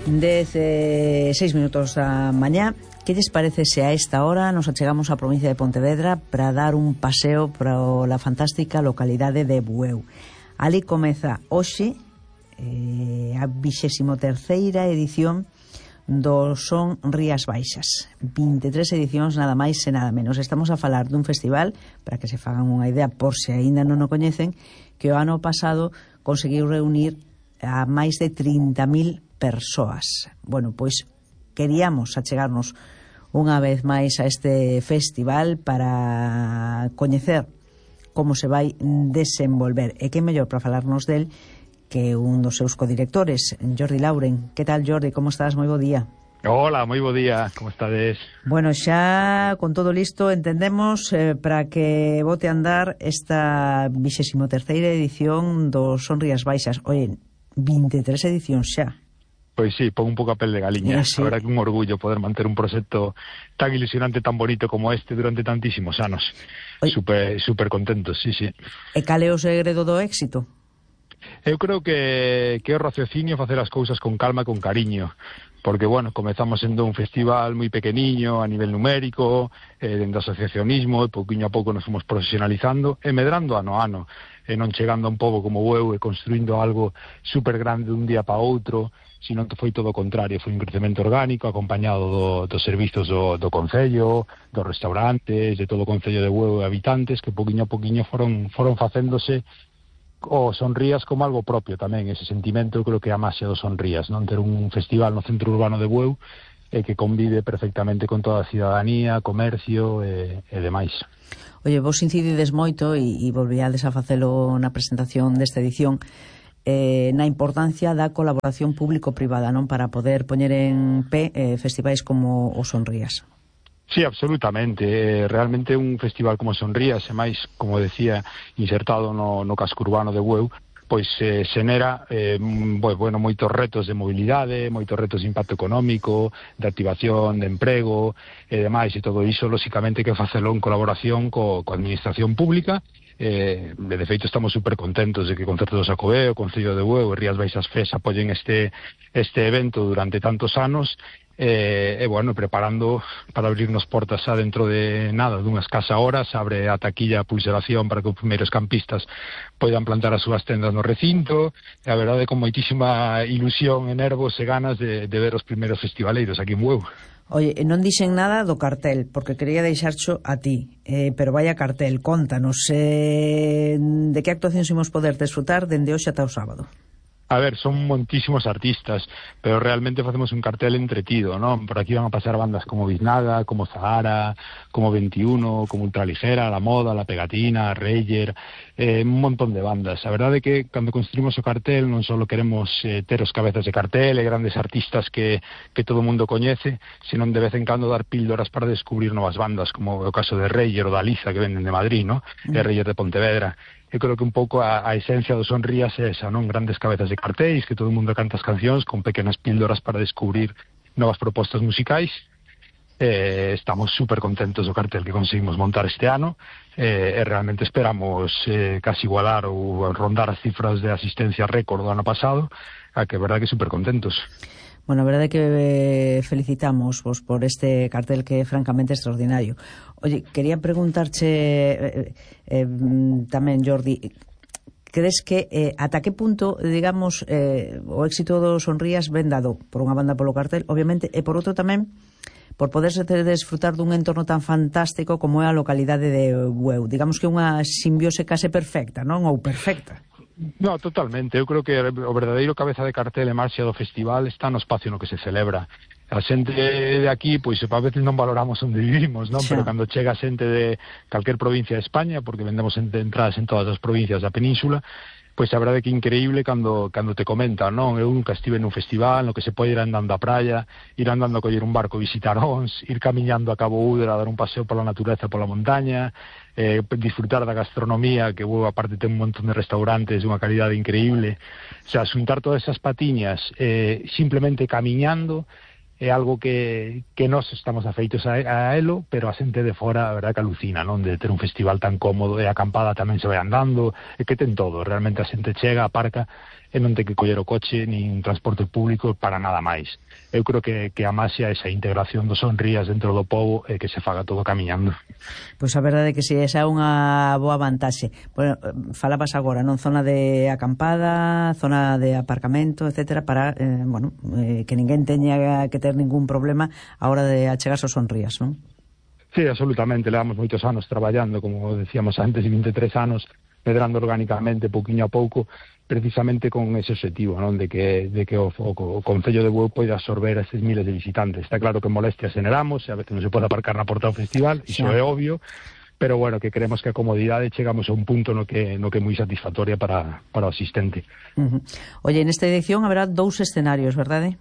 6 minutos da mañá. Que lles parece se a esta hora nos achegamos á provincia de Pontevedra para dar un paseo pola fantástica localidade de Bueu? Ali comeza hoxe a 23ª edición do Son Rías Baixas. 23 edicións, nada máis e nada menos. Estamos a falar dun festival, para que se fagan unha idea por se aínda non o coñecen, que o ano pasado conseguiu reunir a máis de 30.000 persoas. Bueno, pois queríamos achegarnos unha vez máis a este festival para coñecer como se vai desenvolver. E que mellor para falarnos del que un dos seus codirectores, Jordi Lauren. Que tal, Jordi? Como estás? Moi bo día. Hola, moi bo día. Como estades? Bueno, xa con todo listo, entendemos para que bote a andar esta 23ª edición do Son Rías Baixas. Oye, 23 edicións xa. Pois sí, pon un pouco a pel de galiña. Sí. A verdad que un orgullo poder manter un proxecto tan ilusionante, tan bonito como este durante tantísimos anos. Super contentos, sí. E cal é o segredo do éxito? Eu creo que é o raciocinio facer as cousas con calma e con cariño, porque, bueno, comezamos sendo un festival moi pequeniño a nivel numérico, dentro do asociacionismo, e pouquiño a pouco nos fomos profesionalizando e medrando ano a ano, e non chegando a un pobo como Bueu e construindo algo super grande dun día para outro, sino que foi todo o contrario, foi un crecemento orgánico acompañado dos servizos do Concello, dos restaurantes, de todo o Concello de Bueu e habitantes, que pouquiño a pouquiño foron facéndose o Son Rías como algo propio tamén. Ese sentimento eu creo que é a máxia do Son Rías, non? Ter un festival no centro urbano de Bueu que convive perfectamente con toda a cidadanía, comercio e demais. Oye, vos incidides moito e volvíades a facelo na presentación desta edición na importancia da colaboración público-privada, non? Para poder poñer en pé festivais como o Son Rías. Sí, absolutamente. Realmente un festival como Son Rías, e máis, como decía, insertado no casco urbano de Bueu, pois xenera moitos retos de mobilidade, moitos retos de impacto económico, de activación, de emprego e demais, e todo iso, lóxicamente, que facelo en colaboración coa administración pública. De feito, estamos super contentos de que o Concerto do Xacobeo, o Concello de Bueu e Rías Baixas FES apoyen este evento durante tantos anos, preparando para abrirnos portas xa dentro de nada, dunhas escasa horas, abre a taquilla a pulseración para que os primeiros campistas poidan plantar as súas tendas no recinto, e a verdade con moitísima ilusión e nervos e ganas de ver os primeiros festivaleiros aquí en Bueu. Oye, non dixen nada do cartel, porque quería deixarcho a ti, pero vaya cartel, contanos, de que actuacións imos poder desfrutar dende hoxe ata o sábado? A ver, son montísimos artistas, pero realmente facemos un cartel entretido, non? Por aquí van a pasar bandas como Biznaga, como Zahara, como 21, como Ultraligera, La Moda, La Pegatina, Reyer, un montón de bandas. A verdade é que cando construimos o cartel non só queremos ter os cabezas de cartel e grandes artistas que todo o mundo coñece, senón de vez en cando dar píldoras para descubrir novas bandas, como o caso de Reyer ou da Liza, que venden de Madrid, non? E Reyer de Pontevedra. Eu creo que un pouco a esencia do Son Rías é esa, non? Grandes cabezas de cartéis, que todo o mundo canta as cancións con pequenas píldoras para descubrir novas propostas musicais. Estamos super contentos do cartel que conseguimos montar este ano, e realmente esperamos casi igualar ou rondar as cifras de asistencia récord do ano pasado, a que é verdade que super contentos. Bueno, a verdade é que felicitamos vos por este cartel que é francamente extraordinario. Oye, quería preguntarche tamén, Jordi, crees que ata que punto, digamos, o éxito do Son Rías ven dado por unha banda polo cartel, obviamente, e por outro tamén por poderse desfrutar dun entorno tan fantástico como é a localidade de Bueu? Digamos que unha simbiose case perfecta, non? Ou perfecta. No, totalmente. Eu creo que o verdadeiro cabeza de cartel e marcha do festival está no espacio no que se celebra. A xente de aquí, pois a veces non valoramos onde vivimos, non? Sí. Pero cando chega xente de calquer provincia de España, porque vendemos entradas en todas as provincias da península, pois a verdade que é increíble cando te comentan, non? Eu nunca estive nun festival no que se pode ir andando á praia, ir andando a coller un barco, visitar Ons, ir camiñando a Cabo Údera, dar un paseo pola natureza, pola montaña, disfrutar da gastronomía, que aparte ten un montón de restaurantes de unha calidade increíble. O sea, xuntar todas esas patiñas simplemente camiñando é algo que nós estamos afeitos a elo, pero a xente de fora, a verdade que alucina, non? De ter un festival tan cómodo, e a acampada tamén se vai andando, e que ten todo, realmente a xente chega, aparca, e non ter que coller o coche nin transporte público para nada máis. Eu creo que a máis é esa integración dos Sonrías dentro do pobo e que se faga todo camiñando. Pois a verdade é que si, esa é unha boa vantaxe. Bueno, falabas agora, non? Zona de acampada, zona de aparcamento, etcétera, para, que ninguén teña que ter ningún problema a hora de achegarse aos Sonrías, non? Sí, absolutamente, levamos moitos anos traballando, como decíamos antes, 23 anos, medrando orgánicamente, pouquiño a pouco, precisamente con ese objetivo, non? De que o Concello de Bueu poida absorber a estes miles de visitantes. Está claro que molestias generamos, a veces non se pode aparcar na porta do festival, iso é obvio, pero bueno, que creemos que a comodidade chegamos a un punto no que é moi satisfactoria para o asistente. Oye, nesta edición haberá 2 escenarios, verdade?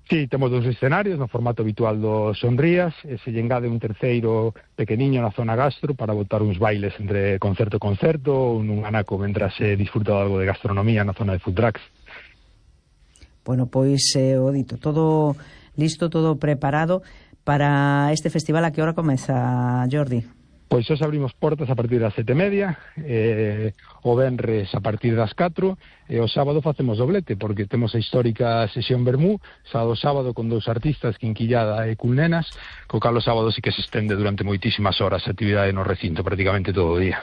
Sí, temos 2 escenarios no formato habitual dos Sonrías, e se lle engade un terceiro pequeniño na zona gastro para botar uns bailes entre concerto e concerto, ou nun anaco mentras se disfruta algo de gastronomía na zona de food trucks. Bueno, pois o dito, todo listo, todo preparado para este festival. A que hora comeza, Jordi? Pois hoxe abrimos portas a partir das 7:30, o venres a partir das 4, e o sábado facemos doblete, porque temos a histórica sesión Vermú, sábado con 2 artistas, Quinquillada e Culnenas, co cal o sábado sí que se estende durante moitísimas horas a actividade no recinto, prácticamente todo o día.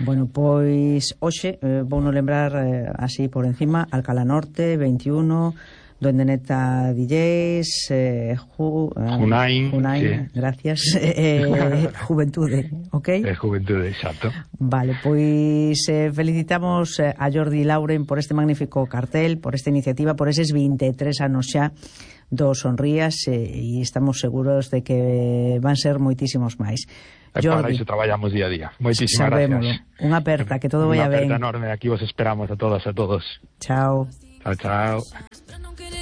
Bueno, pois hoxe, vou non lembrar así por encima, Alcalá Norte, 21... Duende Neta DJs, Junain, sí. Gracias, Juventude, ok? Juventude, exacto. Vale, pois felicitamos a Jordi Lauren por este magnífico cartel, por esta iniciativa, por eses 23 anos xa dos Sonrías, e estamos seguros de que van ser moitísimos máis. Jordi, para iso traballamos día a día. Moitísimas gracias. Unha aperta, que todo vaya ben. Unha aperta enorme, aquí vos esperamos a todas e a todos. Chao. Chao, chao.